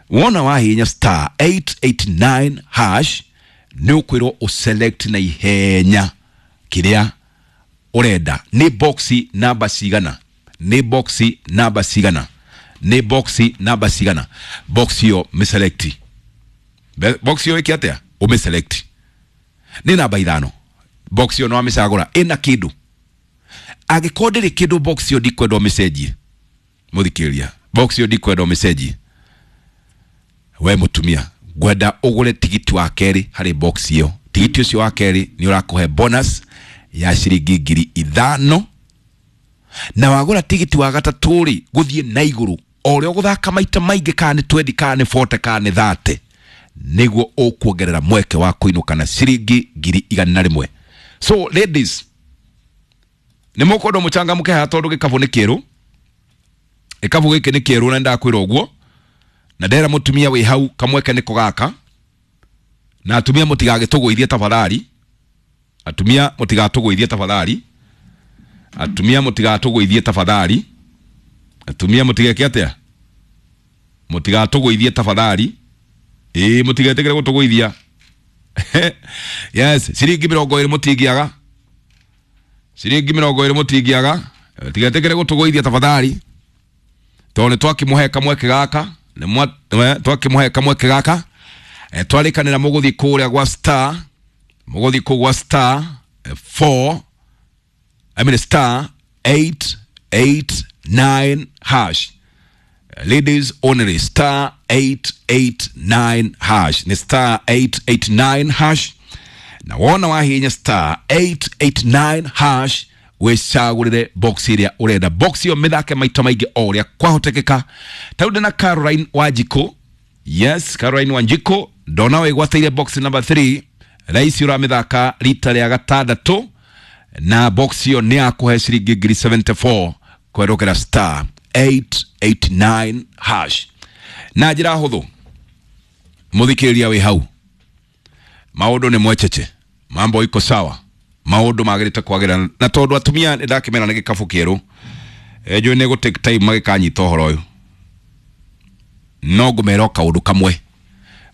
Wona wahihinya star 889 hash nĩ ũkwĩrwo ũselect na ihenya kĩrĩa ũrenda, nĩ boxi namba cigana, nĩ boxi namba cigana, nĩ boxi namba cigana. Box ĩyo mĩselect. Box ĩyo ĩke atĩa? Ũmĩselect. Nĩ namba 5. Box ĩyo no wamĩcagũra ĩna kĩndũ. Angĩkorwo ndĩrĩ kĩndũ, box ĩyo ndikwenda ũmĩcenjie. Mũthikĩrĩria, box ĩyo ndikwenda ũmĩcenjie. We mũtumia, ngwenda ũgũre tigiti wa kerĩ harĩ box ĩyo. Tigiti ũcio wa kerĩ nĩ ũrakũhe bonus ya ciringi 5,000, na wagũra tigiti wa gatatũ rĩ, gũthiĩ na igũrũ o ũrĩa ũgũthaka maita maingĩ, kana nĩ 20, kana nĩ 40, kana nĩ 30, nĩguo ũkuongerera mweke wa kũinũka na ciringi 100,000. So ladies, nĩ mũkwenda mũchangamke haha tondũ gĩkabũ nĩ kĩerũ. Gĩkabũ gĩkĩ nĩ kĩerũ na ndakwĩra ũguo, na ndera mũtumia wĩ hau kamweke nĩko gaka. Na atumia mũtigagĩtũgũithie tafadhali, atumia mũtigatũgũithie tafadhali, atumia mũtigatũgũithie tafadhali, atumia mũtigeke atĩa? Mũtigatũgũithie tafadhali. Ĩĩ, mũtigetĩkĩre gũtũgũithia. Yes, ciringi 20 mũtingĩaga, ciringi 20 mũtingĩaga. Tigetĩkĩre gũtũgũithia tafadhali, tondũ nĩ twakĩmũhe kamweke gaka, nĩ twakĩmũhe kamweke gaka. Twarĩkanĩra mũgũthiĩ kũrĩa gwa star, mũgũthiĩ kũu gwa star 4, I mean star 889 hash. Ladies only, star 889 hash, ni star 889 hash. Na wona wahinya star 889 hash, wĩcagũrĩre box ĩrĩa ũrenda. Box ĩyo mĩthake maita maingĩ o ũrĩa kwahotekeka. Ta rĩu ndĩna Caroline Wanjikũ. Yes, Caroline Wanjikũ, ndona wĩgwatĩire box number 3. Raisi ũramĩthaka rita rĩa gatandatũ, na box ĩyo nĩ yakũhe ciringi 74,000 kwerũkĩra star 889 hash. Na njĩra hũthũ, mũthikĩrĩria wĩ hau, maũndũ nĩ mwecheche, mambo iko sawa, maũndũ magĩrĩte kwagĩra. Na tondũ atumia nĩ ndakĩmera nĩ gĩkabũ kĩerũ, njũĩ nĩ gũ take time magĩkanyita ũhoro ũyũ, no ngũmera o kaũndũ kamwe: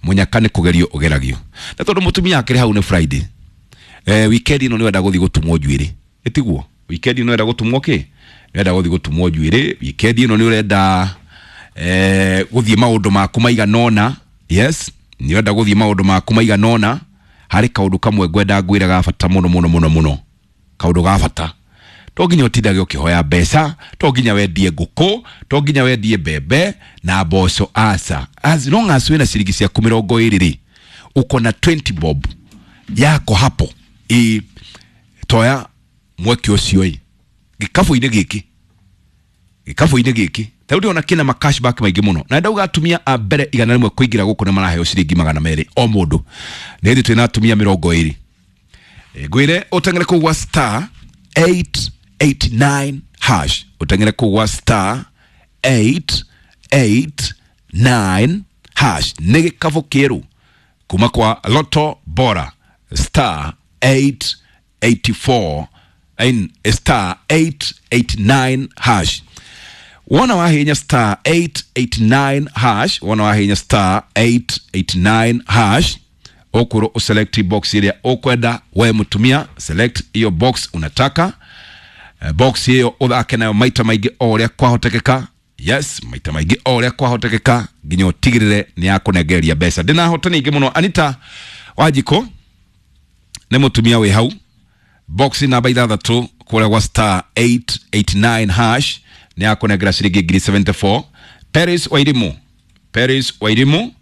mũnyaka nĩ kũgerio ũgeragio. Na tondũ mũtumia akĩrĩ hau, nĩ Friday, weekend ĩno nĩ wenda gũthiĩ gũtumwo njuĩrĩ, ĩtiguo? Weekend ĩno wenda gũtumwo kĩ? Nĩ wenda gũthiĩ gũtumwo njuĩrĩ weekend ĩno, nĩ ũrenda gũthiĩ maũndũ maku maigana ũna. Yes, nĩ ũrenda gũthiĩ maũndũ maku maigana ũna. Harĩ kaũndũ kamwe ngwenda ngwĩre ga bata mũno mũno mũno mũno, kaũndũ ga bata. To nginya ũtindage ũkĩhoya mbeca, to nginya wendie ngũkũ, to nginya wendie mbembe na mboco, aca. As long as wĩna ciringi ciaku 20 rĩ, uko na 20 bob yako hapo, ĩ toya mweke ũcio. Ĩ gĩkabũ-inĩ gĩkĩ, gĩkabũ-inĩ gĩkĩ ta rĩu ndĩrona kĩna ma cashback maingĩ mũno, na ndauga atumia a mbere 100 kũingĩra gũkũ nĩ maraheo ciringi 200 o mũndũ. Nĩ hĩndĩ twĩna atumia 20. Ngwĩre ũteng'ere kũu gwa star 889 hash, ũteng'ere kũu gwa star 889 hash. Nĩ gĩkabũ kĩerũ kuma kwa Lotto Bora, star 884 in star 889 hash. Wona wahinya star 889 hash, wona wahinya star 889 hash, ũkwĩrwo ũselect box ĩrĩa ũkwenda. We mũtumia, select hiyo box unataka. Box hiyo ũthake nayo maita maingĩ o ũrĩa kwahotekeka. Yes, maita maingĩ o ũrĩa kwahotekeka nginya ũtigĩrĩre nĩ yakũnengereria mbeca. Ndĩna hotani ingĩ mũno. Anita Wanjikũ nĩ mũtumia wĩ hau, box namba 6 kũrĩa gwa star 889 hash, nĩ yakũnengera ciringi 74,000. Paris Wairimu, Paris Wairimu,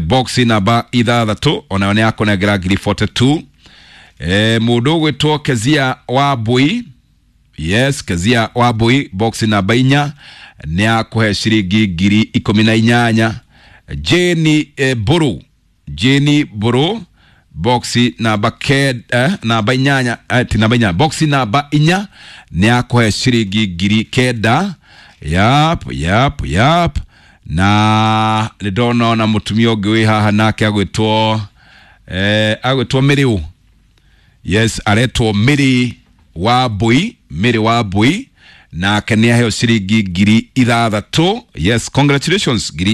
box namba 6, onayo nĩ yakũnengera 42,000. Mũndũ ũgwĩtwo Kezia wa Mbui, yes, Kezia wa Mbui, box namba 4, nĩ akũhe ciringi 18,000. Jeni Mburu, Jeni Mburu, box namba namba 8, ti namba 8, box namba 4, nĩ akũhe ciringi 9,000. Yap. Na nĩ ndona ona mũtumia ũngĩ wĩ haha nake agwĩtwo Mĩrĩũ. Yes, aretwo Mĩrĩ wa Mbui, Mĩrĩ wa Mbui, nake nĩ aheo ciringi 6,000. Yes, congratulations, ngiri